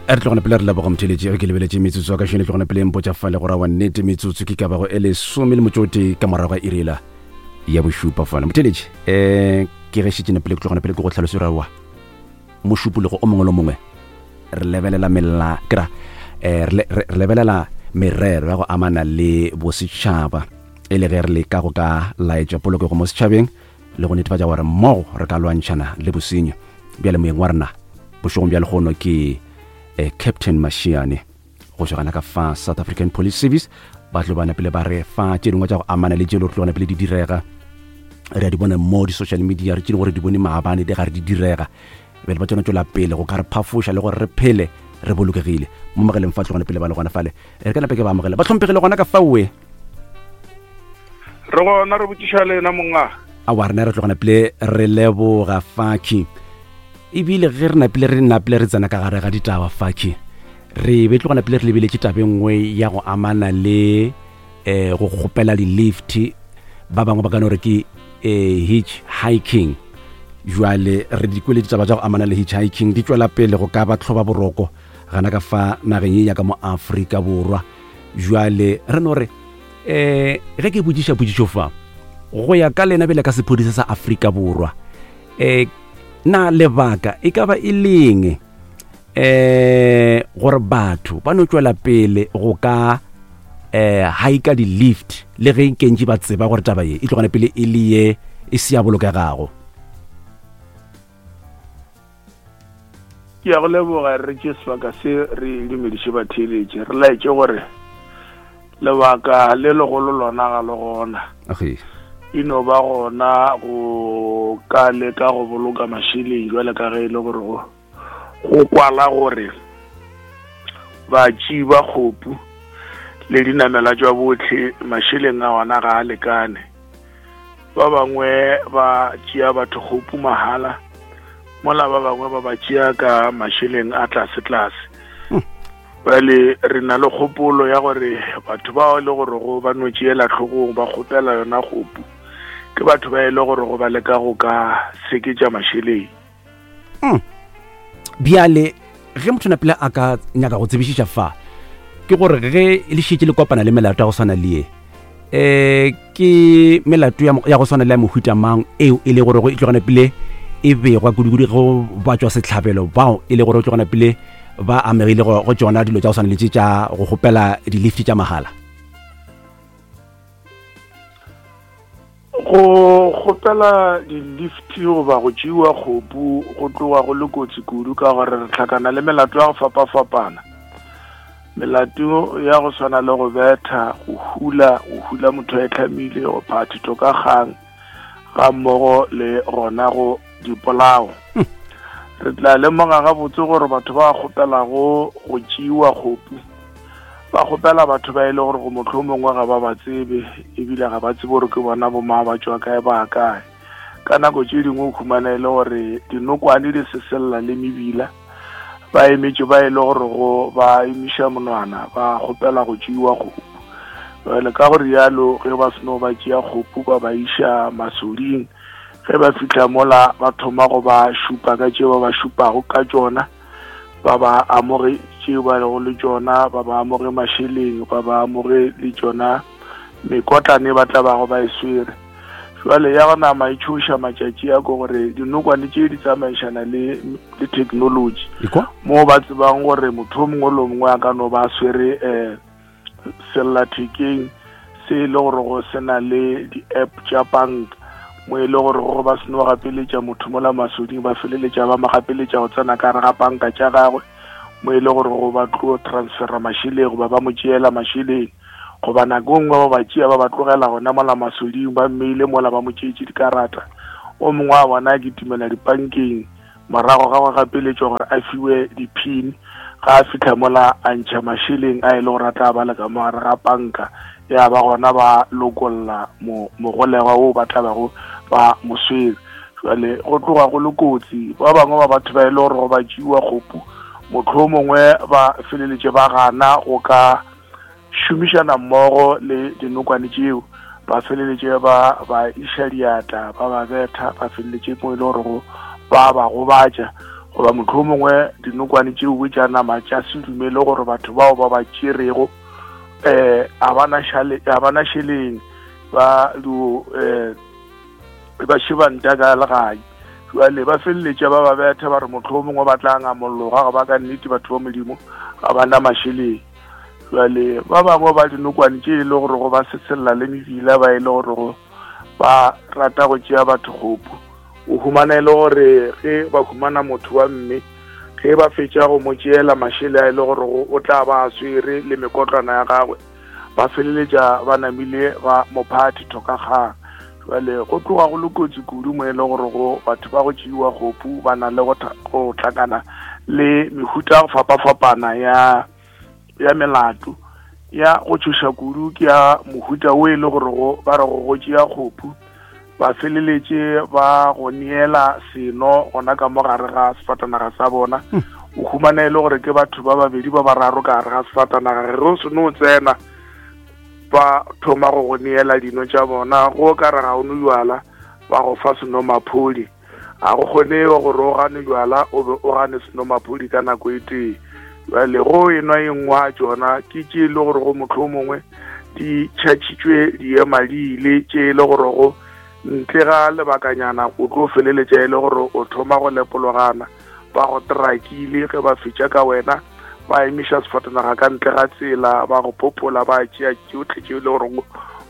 Re tlogone pele re leboga motheletši ge ke lebeletše metsotso ya ka šene tlogone pele mpotša fale go rawa nnete metsotso ke ka bago e lesome le motšote ka morago ga irela ya bošupa fane motheletši um ke ge šetše pele ke tlogone pele ke go tlhaloso rawa mošupologo o mongwe le mongwe re lebelela mela kra eh, re lebelela merero ya go amana le bosetšhaba e le ge re leka go ka laetša polokego mo setšhabeng le go netefatša gore mmogo re ka lwantšhana le bosenyo bjale moyeng wa rena bošegong bja legono ke eh, captain mashiane go tšwa gana ka fa south african police service ba tlo bana pele ba re fa tše dingwe tša go amana le tše le tlo pele di direga re a di bona mo di-social media re tše gore di bone maabane di gare di direga bjale ba tsona tšwela pele go ka re phafoša le gore re phele re bolokegile mo mogeleng fa tlogone pele ba le gona fale re ka nape ke ba amogela ba tlhomphegile gona ka faoe re gona re botšiša lena monga awa rena re tlogana pele re leboga faki ebile ge re napile re napile re tsena ka gare ga ditaba faki re be tlogana pele re lebeletše tabe nngwe ya go amana le um go kgopela di-lift ba bangwe ba ka no re ke um hitch hiking jwale re di kwele ditaba tša go amana le hitch hiking di tšwela pele go ka ba tlhoba boroko gana ka fa nageng ye ya ka mo Afrika Borwa jwale re no re um ge ke botšiša potšišo fa go ya ka lena bjale ka sephodisa sa Afrika Borwa um na lebaka e ka ba e leng um gore batho ba no tšwela pele go ka um haika di-lift le ge kentši ba tseba gore taba ye e tlogane pele e le ye e se ya bolokegago Ke ya go leboga re tše sebaka se re dumediše batheeletše re laetše gore lebaka le legolo lona ga le gona e no ba gona go ka leka go boloka mašeleng jwale ka ge e le gore go go kwala gore batši ba kgopu le dinamela tša botlhe mašeleng a ona ga a lekane ba bangwe ba tšea batho kgopu mahala mola ba bangwe ba ba tšea ka mašeleng a tlase-tlase hmm. bjale re na le kgopolo ya gore batho bao e le gore go ba no tšeela tlhogong ba kgopela yona kgopu ke batho ba e le gore go ba leka go ka seketša mašeleng mm. bjale ge motho napile a ka nyaka go tsebišiša fa ke gore ge le šetše le kopana le melato ya go swana le ye um ke melato ya go swana le ya mohuta mang eo e le gore go e tlogana pele e begwa kudukudu go ba tswa setlhabelo bao e le gore o tlogana pele ba amegile go tsona dilo tša go swana le tše tša go kgopela di-lift tša mahala Go kgopela di-lift goba go tšeiwa kgopu go tloga go le kotsi kudu ka gore re hlakana le melato ya go fapafapana. Melato ya go swana le go betha, go hula, go hula motho a itlhamile, go phaa thito ka kgang, ga mmogo le gona go dipolao. Hmm. Re tla lemoga gabotse gore batho ba kgopelago go tšeiwa kgopu ba kgopela batho ba e le gore go mohlomongwe ga ba ba tsebe ebile ga ba tsebe gore ke bona bomang ba tšwa kae ba kae ka nako tše dingwe o khumana e le gore dinokwane di seselela le mebila ba emetše ba e le gore go ba emiša monwana ba kgopela go tšeiwa kgopu jale ka go rialo ge ba seno ba tšea kgopu ba ba iša masoding ge ba fitlha mola ba thoma go ba šupa ka tšeo ba ba šupago ka tšona ba ba amoge tšeo ba lego le tšona ba ba amoge mašeleng ba ba amoge le tšona mekotlane ba tla bago ba e swere jwale ya go nama e tšhoša matšatši a ko gore dinokwane tše di tsamaišana le le technology mo ba tsebang gore motho o mongwe le o mongwe a ka no ba swere um sellathekeng se e le gore go se na le di-app tša banka mo e le gore go ba seno gapeletša motho mola masoding ba feleletša ba mo gapeletša go tsena ka gare ga banka tša gagwe mo e le gore go ba tlo transfera mašeleng goba ba mo tšeela mašeleng goba nako e nngwe ba ba tšea ba ba tlogela gona mola masoding ba mmeile mola ba mo tšeetše dikarata o mongwe wa bona a kitimela dipankeng Morago ga go gapeletšwa gore a fiwe di-pin, ga a fihla mola a ntšha mašeleng a e le gore a tla ba le ka mo gare ga panka, ya ba gona ba lokolla mogolegwa wo ba tla bago ba mo swere. Jwale go tloga go le kotsi, ba bangwe ba batho ba e le gore go ba tšeiwa kgopu, mohlomongwe ba feleletše ba gana go ka šomišana mmogo le dinokwane tšeo, ba feleletše ba ba iša diatla, ba ba betha, ba feleletše mo e le gorego ba ba gobatša. Goba mohlomongwe dinokwane tšeo tša nama tša se dumele gore batho bao ba ba tšerego um a ba na šeleng ba dio um ba šebanta ka legae. Jwale ba feleletša ba ba betha ba re mohlomongwe ba tla ngamolloga ga ba ka nnete batho ba Modimo ga ba na mašeleng. Jwale ba bangwe ba dinokwane tše e le gore go ba sesella le mebila ba e le gore go ba rata go tšea batho kgopu. O humana e le gore ge ba humana motho wa mme ge ba fetša go mo tšeela mašele a e le gore o tla ba a swere le mekotlwana ya gagwe, ba feleletša ba namile ba mo pha thithokakgang. Jwale go tloga go le kotsi kudu mo e le gore go batho ba go tšeiwa kgopu ba na le go hlakana le mehuta ya go fapafapana ya ya melato. Ya go tšhoša kudu ke ya mohuta o e le gore go ba re go go tšea kgopu ba feleletše ba go neela seno gona ka mo gare ga sefatanaga sa bona. O humana e le gore ke batho ba babedi ba bararo ka gare ga sefatanaga, ge o seno tsena ba thoma go go neela dino tša bona, go ka re ga o no jwala ba go fa senomaphodi. Ga go kgone gore o gane jwala o be o gane senomaphodi ka nako e tee. Jwale go enwa e nngwe ya tšona ke tše e le gore go mohlomongwe di tšhatšhitšwe diema di ile, tše e le gore go ntle ga lebakanyana o tlo feleletša e le gore o thoma go lepologana, ba go trakile. Ge ba fetša ka wena ba emiša sefatanaga ka ntle ga tsela, ba go popola, ba tšea tšohle tše e le gore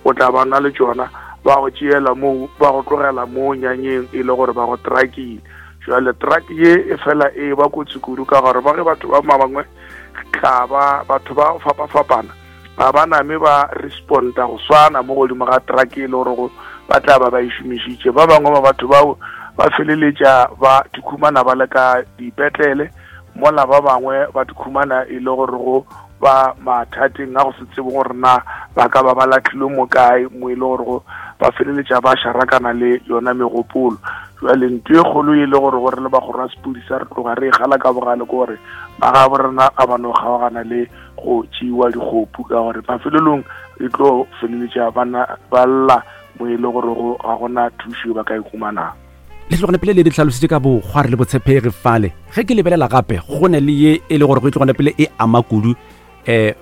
o tla ba na le tšona, ba go tšeela moo, ba go tlogela moo nyanyeng e le gore ba go trakile. Jwale truck ye e fela e ba kotsi kudu ka gore ba ge batho ba bangwe tla ba batho ba fapafapana ga ba name ba responda go swana mo godimo ga truck e le gore ba tla ba ba e šomišitše. Ba bangwe ba batho bao ba feleletša ba dikhumana ba le ka dipetlele, mola ba bangwe ba dikhumana e le gore go ba mathateng a go se tsebe gore na ba ka ba ba lahlilwe mo kae, mo e le gore go ba feleletša ba šarakana le yona megopolo. Jwale ntho e kgolo e le gore gore le bagoro ba sepodisa re tloga re e gala ka bogale ke gore magabo rena a ba no kgaogana le go tšeiwa dikgopu, ka gore mafelelong e tlo feleletša ba lla mo e le gore go ga gona thušo ba ka e humanang. Le tlogone pele le di tlhalositše ka bokgwari le botshepegi fale. Ge ke lebelela gape go ne le ye e le gore go e tlogone pele e ama kudu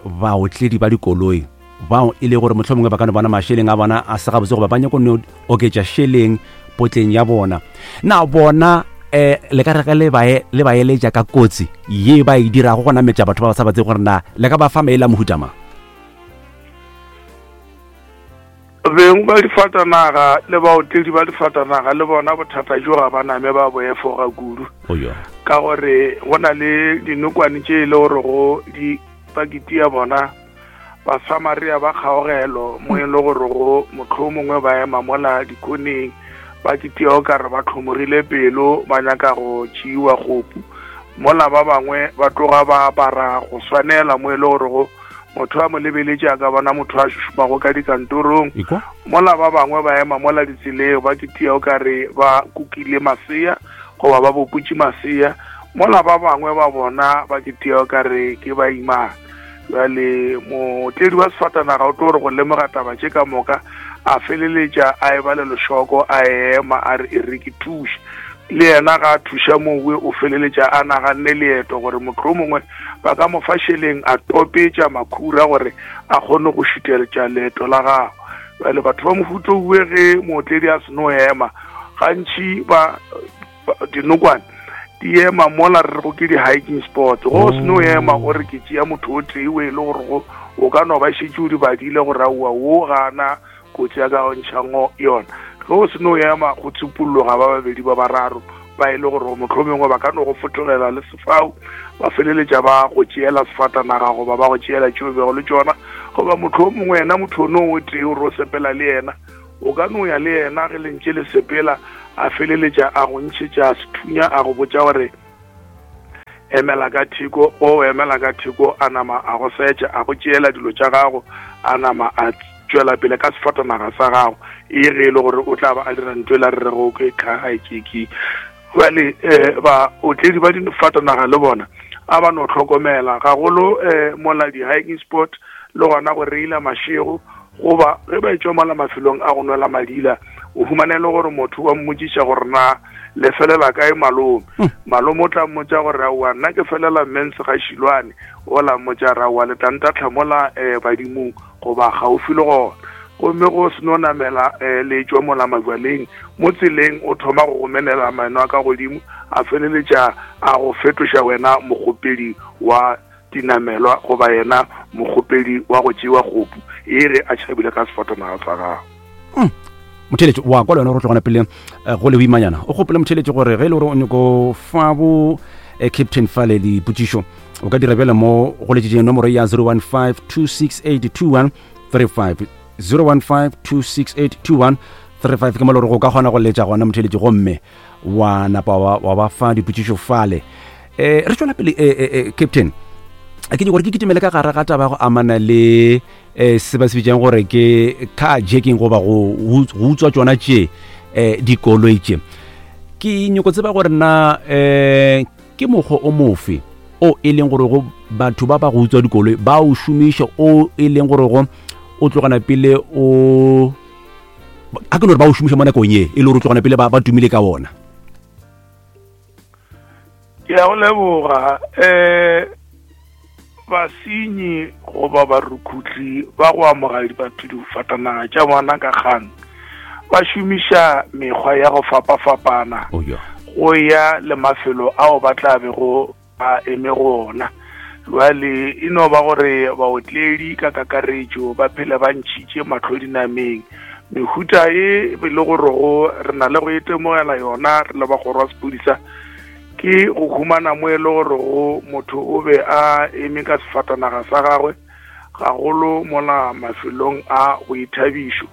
baotledi ba dikoloi bao e le gore mohlomongwe ba ka no bona mašeleng a bona a se gabotse goba ba nyako no oketša šeleng potleng ya bona. Na bona le ka re ge le ba eletša ka kotsi ye ba e dirago go nametša batho ba ba sa ba tsebe gore na le ka ba fa maele a mohuta mang? Beng ba difatanaga le baotledi ba difatanaga le bona bothata jo ga ba name ba bo efoga kudu, ka gore go na le dinokwane tše e le gore go di pakiti ya bona Basamaria ba kgaogelo, mo e le gore go mohlomongwe ba ema mola dikoneng ba kitia o kare ba tlhomogile pelo ba nyaka go tšeiwa kgopu, mola ba bangwe ba tloga ba apara go swanela, mo e le gore go motho a mo lebeletše a ka bona motho a šušumago ka dikantorong, mola ba bangwe ba ema mola ditseleng ba kitia o kare ba kukile masea goba ba boputše masea, mola ba bangwe ba bona ba kitia o kare ke ba imana. Bjale motledi wa sefatanaga o tlo re go lemoga taba tše ka moka, a feleletša a eba le lešoko, a ema a re e re ke thuše. Le yena ga a thuša mowe, o feleletša a naganne leeto gore mohlomongwe ba ka mo fa šeleng a topetša makhura gore a kgone go šuteletša leeto la gagwe. Bjale batho ba mohuta owe ge mootledi a seno ema, gantši ba dinokwane di ema mola re rego ke di-hiking spot. Go o seno ema o re ke tšea motho o tee o e le gore go o ka no ba šetše o di badile gore aowa wo gana kotsi ya ka go ntšhango yona. Ge o seno ema go tsupolloga ba babedi ba bararo ba e le gore mohlomongwe ba ka no go fotogela le sefau, ba feleletša ba go tšeela sefatanaga goba ba go tšeela tšeo bego le tšona, goba mohlomongwe yena motho ono o tee o re o sepela le yena, o ka no ya le yena ge le ntše le sepela, a feleletša a go ntšhetša sethunya a go botša gore emela ka theko. O emela ka theko, a nama a go setša, a go tšeela dilo tša gago, a nama a tšwela pele ka sefatanaga sa gago, e ge e le gore o tla ba a dira ntho e la re rego ke car hijacking. Bjale baotledi ba difatanaga le bona a ba no hlokomela gagolo mola di-hiking spot le gona go reila mašego, goba ge ba etšwa mola mafelong a go nwela madila, o humane le gore motho wa mmotšiša gore na Le felela kae malome? Hmm. Malome o tla mmotša gore aowa nna ke felela mens ga Šilwane, ola mmotša re aowa le tla ntatlha mola um badimong goba gaufi le gona. Gomme go seno namela um le tšwa mola majwaleng mo tseleng o thoma go gomelela maeno a ka godimo a feleletša a go fetoša wena mokgopedi wa dinamelwa goba yena mokgopedi wa go tšewa kgopu e re a tšhabile ka sefatanaga sa gago. Hmm. Motheletši wa kwa le wena gore tlogana pele eh, go le boimanyana o gopole motheletši gore ge e le gore o nyako fa bo eh, captain fale dipotšišo o ka dira bjale mo go letšetšeng nomoro ya 015 268 2135 015 268 2135 ke mo le gore go ka kgona go letša gona motheletši gomme wa napa wa ba fa dipotšišo fale um re tšwela pele eh, eh, captain ke gore ke kitimele ka gare ga taba go amana le um se ba se bitsang gore ke car jacking goba go utswa tsona tše um dikoloi tše ke nyoko tseba gore na um ke mokgwa o mofe o e leng gore go batho ba ba go utswa dikoloi ba o šomiša o e leng gore go o tlogana pele o a ke no re ba o šomiša mo nakong ye e le gore o tlogana pele ba tumile ka ona. Ke a go leboga. Um basenyi goba barukhutli ba go amoga batho difatanaga tša bona ka kgang ba šomiša mekgwa ya go fapafapana oh, go ya le mafelo ao ba tla bego ba eme go ona. Bjale e no ba gore baotledi ka kakaretšo ba phele ba ntšhitše mahlo dinameng. Mehuta e e le gorego re na le go itemogela yona re le ba kgoro ya sephodisa ke go humana mo e le gorego motho o be a eme ka sefatanaga sa gagwe gagolo mola mafelong a boithabišo.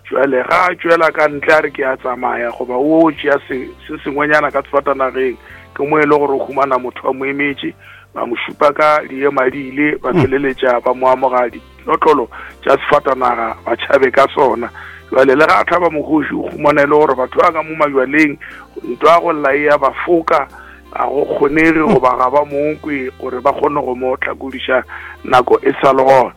Jwale ga a tšwela ka ntle a re ke a tsamaya goba o tšea se se sengwenyana ka sefatanageng, ke mo e le gore o humana motho a mo emetše, ba mo šupa ka diemadiile, ba feleletša ba mo amoga dinotlolo tša sefatanaga ba tšhabe ka sona. Jwale le ga a hlaba mokgoši o humana e le gore batho ba ka mo majwaleng ntwa go lla e ya ba foka, ga go kgonege goba ga ba mo kwe gore ba kgone go mo hlakodiša nako e sa le gona.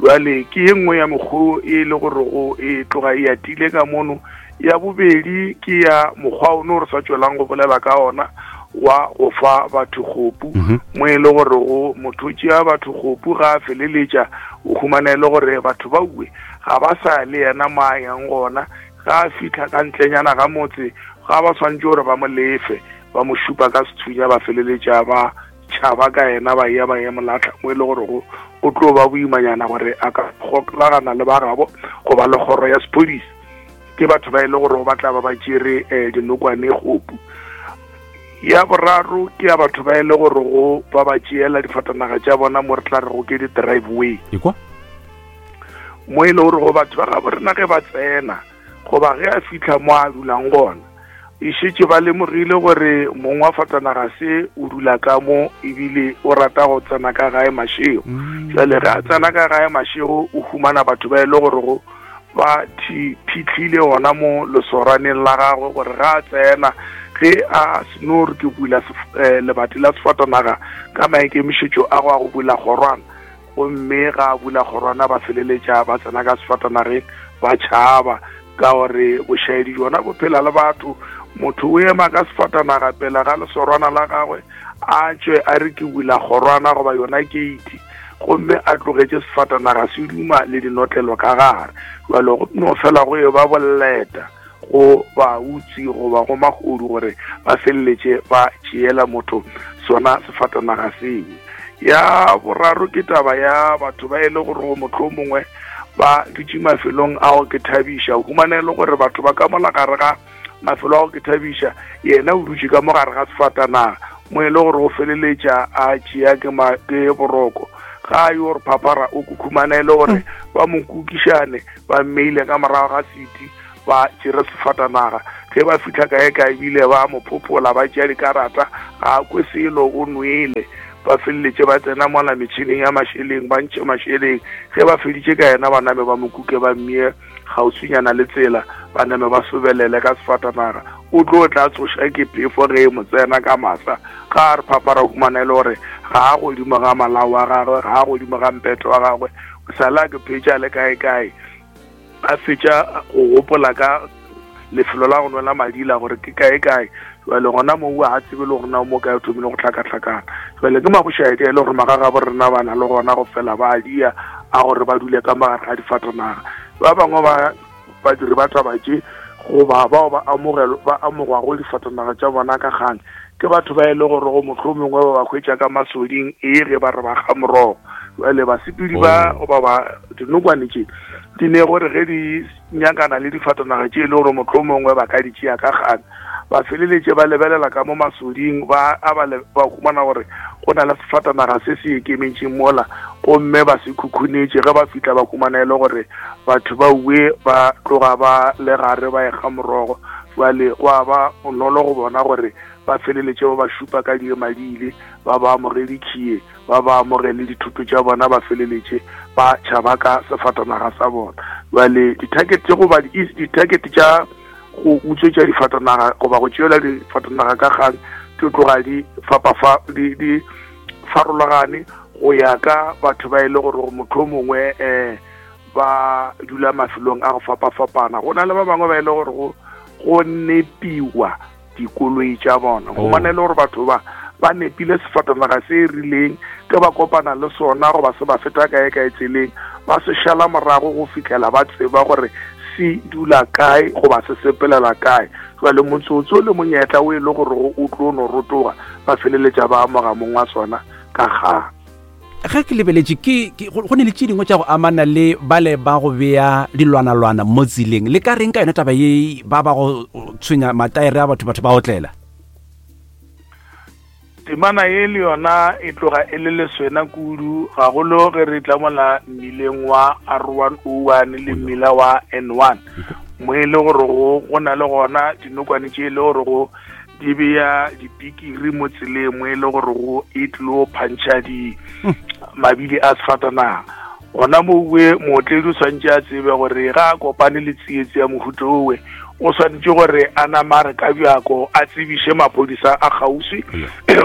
Jwale ke ye nngwe ya mekgwa e le gore go e tloga e atile ka mono. Ya bobedi ke ya mokgwa ono re sa tšwelang go bolela ka ona wa go fa batho kgopu, mhm. mo e le gore go motho o tšea batho kgopu ga a feleletša o humana e le gore batho ba uwe ga ba sa le yena mo a yang gona. Ga a fitlha ka ntlenyana ga motse ga ba swanetše gore ba mo lefe, ba mo šupa ka sethunya, ba feleletša ba tšhaba ka yena, ba ya ba ya mo lahla mo e le gore go o tlo ba boimanyana gore a ka gokagana le ba gabo goba le kgoro ya sephodisa. Ke batho ba e le gore ba tla ba ba tšere um dinokwane kgopu. Ya boraro ke ya batho ba e le gore go ba ba tšeela difatanaga tša bona mo re tla re go ke di-driveway, mo e le gore go batho ba gabo rena ge ba tsena goba ge a fitlha mo a dulang gona e šetše ba lemogile gore mong wa fatanaga se o dula ka mo ebile o rata go tsena ka gae mašego. Mm. Jale ge a tsena ka gae mašego o humana batho ba e le gore go ba phitlhile gona mo lesoraneng la gagwe gore ga a tsena ge a seno re ke bula eh, lebati la sefatanaga ka maikemišetšo a go a go bula kgorwana Gomme ga a bula kgorwana ba feleletša ba tsena ka sefatanageng ba tšhaba, ka gore bošaedi bjona bo phela le batho. Motho o ema ka sefatanaga pele ga lesorwana la gagwe, a tšwe a re ke bula kgorwana goba yona keiti, gomme a tlogetše sefatanaga se duma le dinotlelo ka gare. Bjalo go no fela go e ba boleta. go bautsi goba go mahodu gore ba feleletše ba tšeela motho sona sefatanaga seo. Ya boraro ke taba ya batho ba e le gore go motlho mongwe ba dutše mafelong a go ke thabiša, o humana e le gore batho ba ka mola gare ga mafelo a go ke thabiša, yena o dutše ka mo gare ga sefatanaga mo e le gore o feleletša a tšea ke boroko, ga a yo re phaphara o kukhumana e le gore ba mo kukišane ba mmeile ka morago ga seti ba tšere sefatanaga. Ge ba fihla kae kae ebile ba mo phophola ba tšea dikarata, ga a kwe selo o nwele. Ba feleletše ba tsena mola metšhineng ya mašeleng ba ntšhe mašeleng. Ge ba feditše ka yena ba name ba mo kuke ba mmie kgauswinyana le tsela, ba name ba sobelele ka sefatanaga. O tlo tla tsoša ke phefo ge e mo tsena ka masa. Ga a re phapara humana e le gore ga a godimo ga malao a gagwe, ga a godimo ga mpete wa gagwe, o sa le a ke phetša le kae kae. A fetša go gopola ka lefelo la go nwela madila gore ke kae kae. Jale gona moo ga tsebe le gore na mo kae o thomile go hlakahlakana. Jale ke mabošaedi e le gore magagabo rena ba na le gona go fela ba dia a gore ba dule ka magare ga difatanaga. Ba bangwe ba badiri ba taba tše goba bao ba amogelo ba amogwago difatanaga tša bona ka kgang ke batho ba e le gore go mohlomongwe ba ba hwetša ka masoding e ge ba re ba ga morogo. Jale basepedi ba oh. goba ba dinokwane tše di ne gore ge di nyakana le difatanaga tše e le gore mohlomongwe ba ka di tšea ka kgang ba feleletše ba lebelela ka mo masoding ba a ba ba humana gore go na le sefatanaga se se ikemetšeng mola gomme ba se khukhunetše ge ba fihla ba humana e le gore batho ba uwe ba tloga ba le gare ba ekga morogo jwale go a ba bonolo go bona gore ba feleletše ba ba šupa ka diemadile ba ba amogele khie ba ba amogele dithoto tša bona ba feleletše ba tšhaba ka sefatanaga sa bona jwale di-target goba di-target tša go utswetša difatanaga goba go tšeela difatanaga ka kgang di tloga di fapafa di di farologane go ya ka batho ba e le gore motho mongwe um ba dula mafelong a go fapafapana go na le ba bangwe ba e le gore go nepiwa dikoloi tša bona go bona e le gore batho ba ba nepile sefatanaga se e rileng ke ba kopana le sona goba se ba feta kae kae tseleng ba se šala morago go fitlhela ba tseba gore se dula kae goba se sepelela kae jale motsotso le monyetla o e le gore o tlo no rotoga ba feleletša ba amoga mong wa sona ka kgang ge ke lebeletše ke go ne le tše dingwe tša go amana le bale ba go bea dilwanalwana mo tseleng le ka reng ka yone taba ye ba ba go tshwenya mataere a batho batho ba otlela temana ye le yona e tloga e le leswena kudu gagolo ge re tla mola mmileng wa r101 le mmila wa n1 mo e le gore go na le gona dinokwane tše e le gore go di beya dipikiri mo tseleng mo e le gore go e tlilo phantšha di mabili a sefatanaga gona mowe mootledi o tshwanetse a tsebe gore ga a kopane le tsietsi ya mohuto owe o swanetše gore a namare ka bjako a tsebiše maphodisa a kgauswi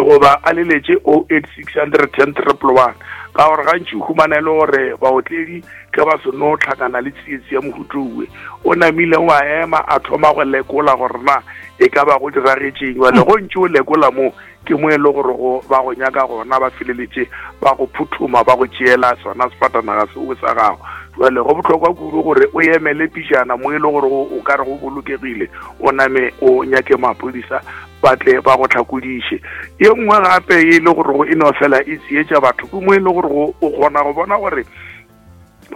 goba a leletše o 8610 111 ka gore gantši o humana e le gore baotledi ge ba seno tlhakana le tsietsi ya mohutowe o namile wa ema a thoma go lekola gore na e ka ba go diragetšeng jale go ntše o lekola mo ke mo e le gore go ba go nyaka gona ba feleletše ba go phuthuma ba go tšeela sona sefatanaga seo sa gago jale go bohlokwa kudu gore o emele pijana mo e le gore o ka re go bolokegile o name o nyake maphodisa ba tle ba go tlhakodiše ye nngwe gape e le gore go e no fela e tsietša batho ke mo e le gore o kgona go bona gore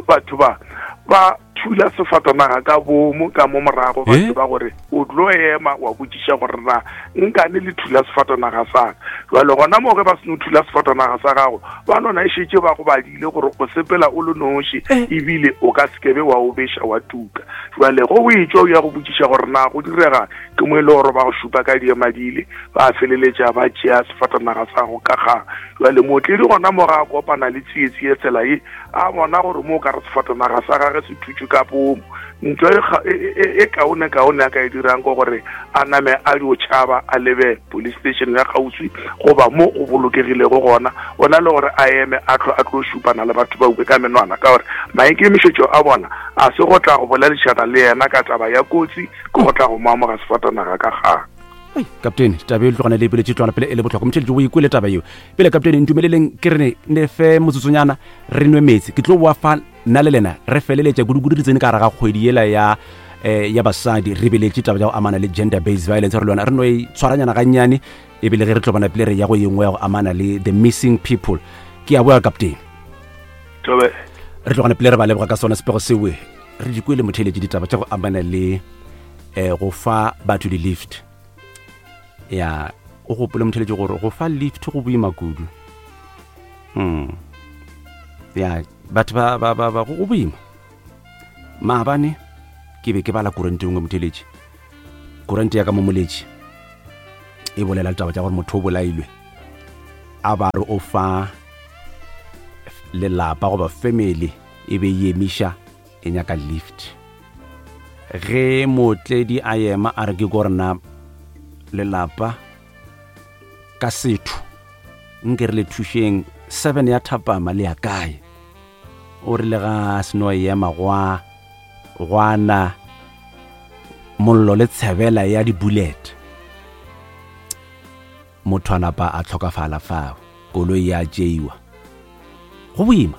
batho ba ba thula sefatanaga ka bomo ka mo morago ba eh? tseba gore o tlo ema wa botšiša gore na nkane le thula sefatanaga sa ka jale gona mo ge ba seno thula sefatanaga sa gago ba nona e šetše ba go badile gore o sepela o le noši eh? ebile o ka sekebe wa o beša wa tuka jale go o etšwa o ya go botšiša gore na go direga ke mo e le gore ba go šupa ka diemadile ba feleletša ba tšea sefatanaga sa go ka kgang Jwale mootledi gona mo ga a kopana le tsietsi ye tsela ye, a bona gore mo o ka re sefatanaga sa gage se thutšwe ka pomo. Ntho e, e, e, e kaone kaone a ka e dirang ke gore a name a dio tšhaba a lebe police station ya kgauswi goba mo go bolokegilego gona, o na le gore a eme a tlo a tlo šupana le batho ba uwe ka menwana, ka gore maikemišetšo a bona a se go tla go boledišana le yena ka taba ya kotsi, ke go tla go mo amoga sefatanaga ka kgang. Ei, kaptene taba e tlogana le epeletše tlwana pele e le botlhokwa motšheletše o ikwele taba yeo pele kaptene ntumeleleng ke re ne fe motsotsonyana re nwe meetse ke tlo boa fa nna le lena re feleletša kudukudu re tsene ka gare ga kgwedi yela ya eh, ya basadi re beletše taba ya go amana le gender based violence re le yona re no e tshwaranyana gannyane ebile ge re tlo bona pele re ya go yengwe ya go amana le the missing people ke a boa kaptene re tlogane pele re ba leboga ka sona sepego sewe re di kwele motheletše ditaba tša go amana le eh go fa batho di-lift ya o gopole motheletše gore go fa lift go boima kudu mm. ya batho ba, ba, ba, ba go boima maabane ke be ke bala kurante nngwe motheletše kurante ya ka mo moletše e bolela ditaba tša gore motho o bolailwe a ba re o fa lelapa goba family e be e emiša e nyaka lift ge mootledi a ema a re ke ko rena lelapa ka setho nke re le thušeng seven ya thapama le ya kae o rile ga a seno ema gwa gwana Mollo le tshebela ya di-bullet. Motho a napa a hlokafala fao, koloi ya tšeiwa. Go boima.